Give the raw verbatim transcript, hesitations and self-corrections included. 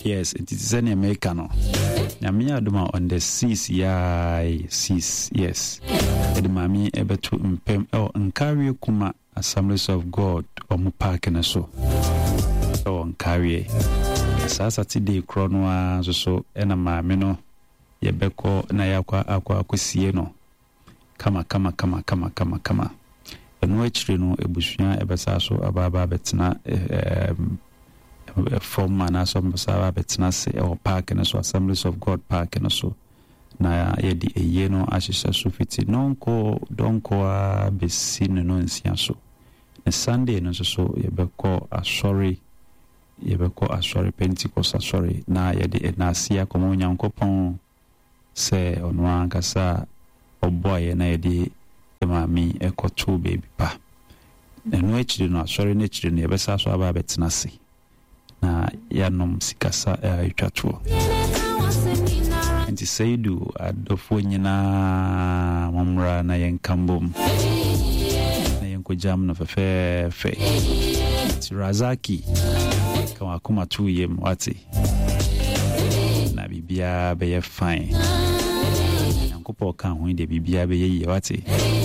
Yes, nti te sɛ nea meka no, Nyame yɛ adom a, on the six yae, six, yes, yɛde maame ɛbɛto mpam ɛwɔ Nkawie Kuma Assemblies of God ɔmo park no so ɛwɔ Nkawie. Na saa Saturday korɔ no ara nso so ɛna maame no yɛbɛkɔ na yɛakɔ akɔ akɔsie no kama kama kama kama kama kama. Ɛno akyire no, abusua ɛbɛsa so aba aba abɛtena ɛɛm fam anaasɛ ɔmo aba abɛtena ase ɛwɔ park no so, Assemblies of God park no so, na yɛde eyie no ahyehyɛ so fiti nɔnkɔ dɔnkɔ a bɛsi ne no nsia so. Na Sunday no nso so yɛbɛkɔ asɔre, yɛbɛkɔ asɔre, Pentecost asɔre, na yɛde ɛnaase akɔma Onyankopɔn sɛ ɔno ankasa ɔboa yɛ na yɛde maame ɛkɔto baabi pa. Ɛno akyiri no, asɔre no akyiri no, yɛbɛsa so aba abɛtena ase na yɛanom sikasa a ɛtwa toɔ. Nti Seidu adɔfoɔ nyinaa, mommra na yɛnka mbom na yɛnkɔgyam no fɛfɛɛfɛ. Nti Razaki, ka wakoma to yam, wate, na biribiara bɛyɛ fine. Nyankopɔn ka ho yi deɛ, biribiara bɛyɛ yie, wate.